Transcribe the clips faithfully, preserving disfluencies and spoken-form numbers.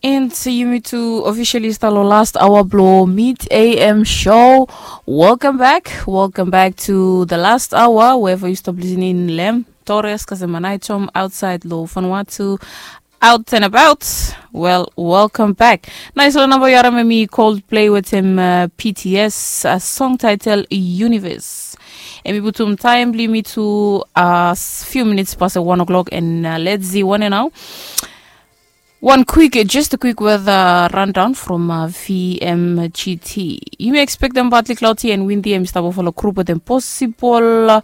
And yumi tu officially start lo last hour blo mid A M show. Welcome back. Welcome back to the last hour. Wherever you stop listening, Lem, Torres, Kasemanaitom, outside lo Vanuatu, out and about. Well, welcome back. Nice lo namba yu harim hemi Coldplay wetem uh, P T S, uh, song title Universe. Hemi putum taem blo yumi tu uh, few minutes past one o'clock and uh, let's see one now. One quick, just a quick weather rundown from uh, V M G T. Yumi expectem partly cloudy and windy, hemi stap ofala grup wetem possible uh,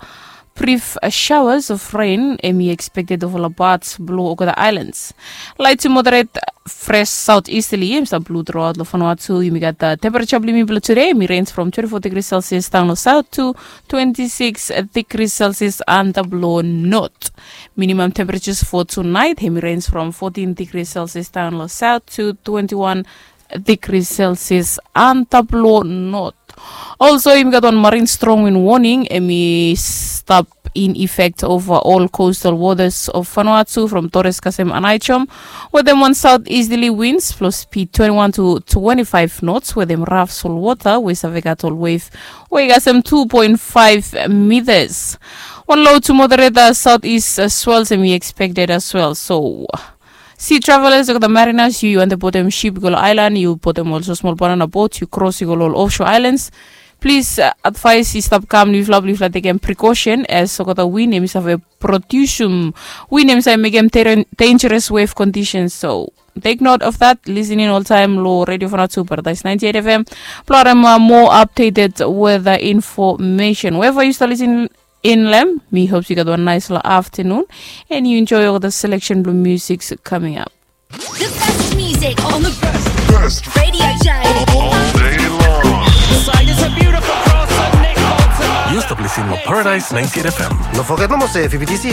brief uh, showers of rain hemi expected ofala parts blo olgeta islands. Light to moderate fresh southeasterly hemi stap blo throughout lo Vanuatu. Yumi gat uh, temperature blo yumi blo today hemi range from twenty-four degrees Celsius down lo south to twenty-six degrees Celsius under blo north. Minimum temperatures for tonight hemi range from fourteen degrees Celsius down lo south to twenty-one degrees Celsius under blo north. Also, yumi gat wan marine strong wind warning hemi stap in effect over all coastal waters of Vanuatu from Torres Kasemanaitom wetem wan southeasterly winds blo speed twenty-one to twenty-five knots wetem rough salt water we save gat ol wave we i kasem two point five meters. Wan low to moderate uh, southeast uh, swells hemi expected as well. So, sea travelers, olgeta mariners, yu yu wantem botem ship i go lo island, yu botem olsem smol banana boat, yu kros i go lo ol offshore islands. Plis uh, advice i stap kam lo yufala blo yufala tekem precaution as olgeta wind hemi save produsum, wind hemi save mekem dangerous wave conditions. So, take note of that. Listening oltaem lo Radio Vanuatu Paradise ninety-eight F M blo harim uh, more updated weather information. Wherever you start listening in, Lem, mi hope yu gat wan nice lo afternoon and yu enjoy olgeta selection blo music coming up. The best music on the best radio show all day long. Yu stap listening lo Paradise ninety-eight F M. No foget nomo se V B T C